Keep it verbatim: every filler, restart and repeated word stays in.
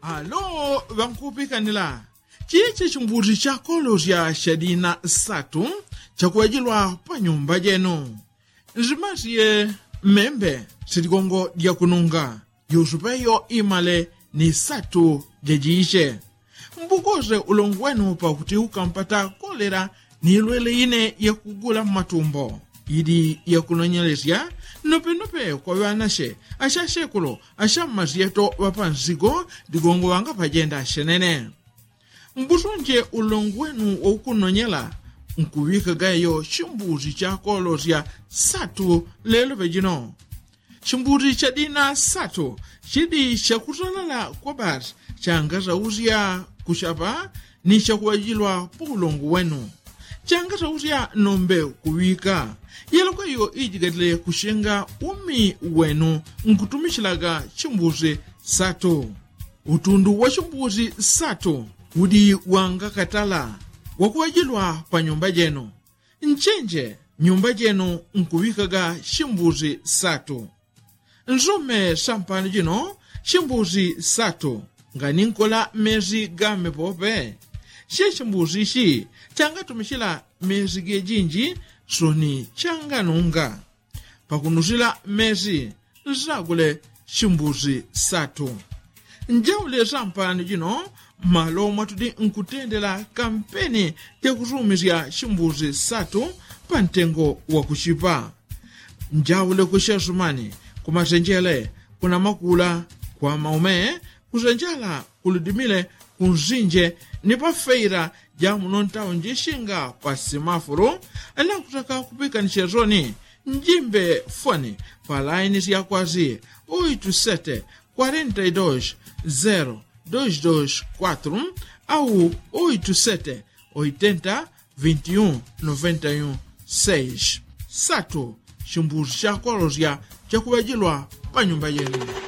Alo ŵankupikanila, chichi chimbuzi chakolosya chadina satu chakuŵajilwa pa nyumba jenu. Nzimasye, membe, siligongo lyakununga, yusupeyo imale ni satu jajiche. Mbukoze ulongo wenu pakuti ukampata kolela ni ilwele ine yakugula mmatumbo, ili yakunonyelesya nopenope kwa ŵanache achachekulo acha mmasyeto ŵapansigo. Ligongo ŵanga pajenda achenene. Mbusunje ulongo wenu waukunonyela nkuŵikagayo chimbuzi chakolosya satu lelo pejino. Chimbuzi chadina satu chidi chakusalala kwa basi changasausya kuchapa ni chakuŵajilwa pa ulongo wenu. Changasausya nombe kuŵika yelokweyo ijigatile kuchenga umi wenu nkutumichilaga chimbuzi satu. Utundu wa chimbuzi satu udi wangakatala wakuŵajilwa pa nyumba jenu. Nchenje nyumba jenu nkuŵikaga chimbuzi satu. Nsume sampano jino chimbuzi satu nganinkola mezi game pope. Che chimbuzi ichi changatumichila mezi gejinji soni changanunga. Pakunusila mezi nsagule chimbuzi satu. Njaule sampano jino malo mwatudi nkutendela kampeni jakusumisya chimbuzi satu pa ntengo wakuchipa. Njaule kuchesumani, kumasenjele, kunamakula, kwa maume, kusenjala, kuludimile, kunsinje, ni pafeila jamuno ntaunji shinga pa simafulu. Nakutaka kupikanisya soni njimbe foni pa laini syakwazi oitu sete kwarenta i dos zero dos dos kwatru au oitu sete oitenta vinti un noventa i un seis. Satu, chimbuzi chakolosya chakuŵajilwa pa nyumba jenu.